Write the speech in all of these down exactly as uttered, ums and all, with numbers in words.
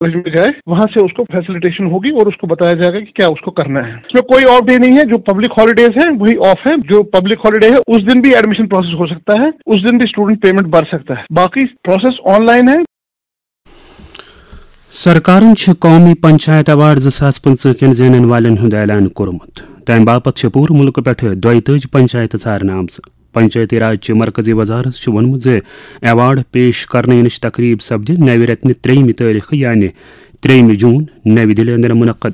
College में जाए, वहां से उसको फैसिलिटेशन होगी और उसको बताया जाएगा कि क्या उसको करना है। इसमें कोई ऑफ डे नहीं है, जो पब्लिक हॉलीडेज है वही ऑफ है। जो पब्लिक हॉलीडे है उस दिन भी एडमिशन प्रोसेस हो सकता है, उस दिन भी स्टूडेंट पेमेंट भर सकता है, बाकी प्रोसेस ऑनलाइन है। سرکارن چھُ قومی پنچایت ایوارڈ زٕ ساس پٕنٛژٕہ کٮ۪ن زینن والٮ۪ن ہُنٛد اعلان کوٚرمُت۔ تَمہِ باپتھ چھِ پوٗرٕ مُلکہٕ پٮ۪ٹھٕ دۄیہِ تٲجی پنچایتہٕ ژارنہٕ آمژٕ۔ پنچایتی راج چہِ مرکزی وزارت چھُ ووٚنمُت زِ ایوارڈ پیش کرنہٕ یِنٕچ تقریب سپدِ نوِ رٮ۪تنہِ ترٛیٚیِمہِ تٲریخہٕ، یعنی ترٛیٚیِمہِ جوٗن، نَوِ دِلہِ اندر منعقد۔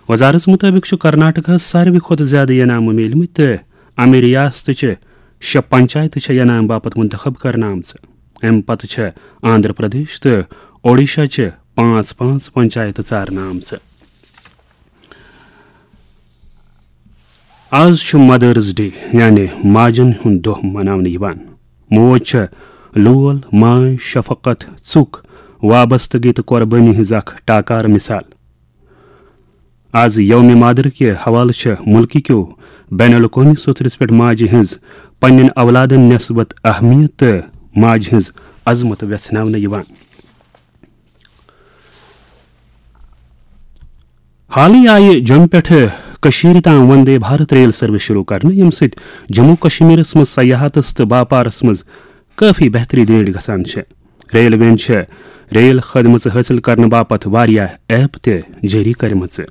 وزارتس مُطٲبِق چھُ کرناٹکہس ساروی کھۄتہٕ زیادٕ انعام میٖلمٕتۍ تہٕ امہِ ریاستہٕ چہِ شےٚ پنچایتہٕ چھےٚ انعام باپتھ منتخب کرنہٕ آمژٕ۔ امہِ پتہٕ چھےٚ آندھرا پردیش تہٕ اوڈیشہ چہِ پانٛژھ پانٛژھ پنچایتہٕ ژارنہٕ آمژٕ۔ آز چھُ مدرس ڈے، یعنی ماجن ہُنٛد دۄہ مناونہٕ یِوان۔ موج چھےٚ لول، ماے، شفقت، ژُک، وابستگی تہٕ قۄربٲنی ہٕنٛز اکھ ٹاکار مثال۔ آز یوم مادر کہِ حوالہٕ چھےٚ مُلکہٕ کیو بین الاقوٲمی سوٚژرِس پٮ۪ٹھ ماجہِ ہٕنٛز پننٮ۪ن اولادن نسبت اہمیت تہٕ ماجہِ ہٕنٛز عظمت وٮ۪ژھناونہٕ یِوان۔ حالٕے آیہِ جوٚمہِ پٮ۪ٹھٕ کٔشیٖرِ تام وندے بھارت ریل سروس شروع کرنہٕ، ییٚمہِ سۭتۍ جموں کشمیرس منٛز سیاحتس تہٕ باپارس منٛز کٲفی بہتری دٲڑ گژھان چھےٚ۔ ریلوین چھےٚ ریل خدمژٕ حٲصِل کرنہٕ باپتھ واریاہ ایپ تہِ جٲری کٔرمٕژٕ۔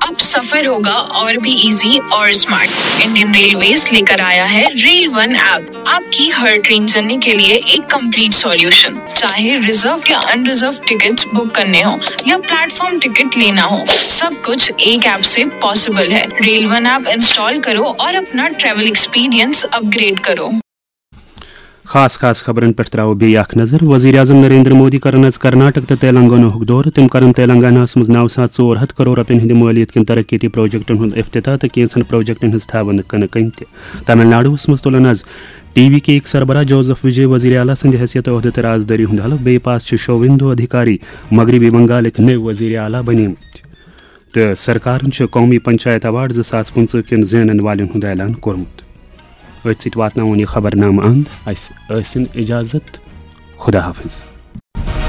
अब सफर होगा और भी इजी और स्मार्ट। इंडियन रेलवेज लेकर आया है रेल वन ऐप। आपकी हर ट्रेन जर्नी के लिए एक कंप्लीट सॉल्यूशन। चाहे रिजर्व या अनरिजर्व टिकट्स बुक करने हो या प्लेटफॉर्म टिकट लेना हो, सब कुछ एक ऐप से पॉसिबल है। रेल वन ऐप इंस्टॉल करो और अपना ट्रैवल एक्सपीरियंस अपग्रेड करो। خاص خاص خبرن پٮ۪ٹھ ترٛاوو بیٚیہِ اکھ نظر۔ وزیر اعظم نریندر مودی کرن آز کرناٹک تہٕ تیلنگاناہُک دورٕ۔ تِم کرن تیلنگاناہَس منٛز نَو ساس ژور ہَتھ کرور رۄپین ہٕنٛدِ مٲلیت کٮ۪ن ترقیتی پروجیکٹن ہُنٛد افتتاح تہٕ کینٛژن پروجیکٹن ہٕنٛز تھاوَن کٕنہٕ کٔنۍ تہِ۔ تامل ناڈوَس منٛز تُلن آز ٹی وی کے یِکۍ سربراہ جوزف وجے وزیر اعلیٰ سٕنٛدِ حیثیت عہدٕ تہٕ رازدٲری ہُنٛد حلف۔ بیٚیہِ پاس چھِ شوویندو ادھیکاری مغربی بنگالٕکۍ نٔوۍ وزیر اعلیٰ بنیمٕتۍ۔ تہٕ سرکارن چھُ قومی پنچایت ایوارڈ زٕ ساس پٕنٛژٕہ کٮ۪ن زینن والٮ۪ن ہُنٛد اعلان کوٚرمُت۔ أتھۍ سۭتۍ واتناوون یہِ خبرنامہٕ اند۔ اسہِ ٲسِن اجازت۔ خدا حافظ۔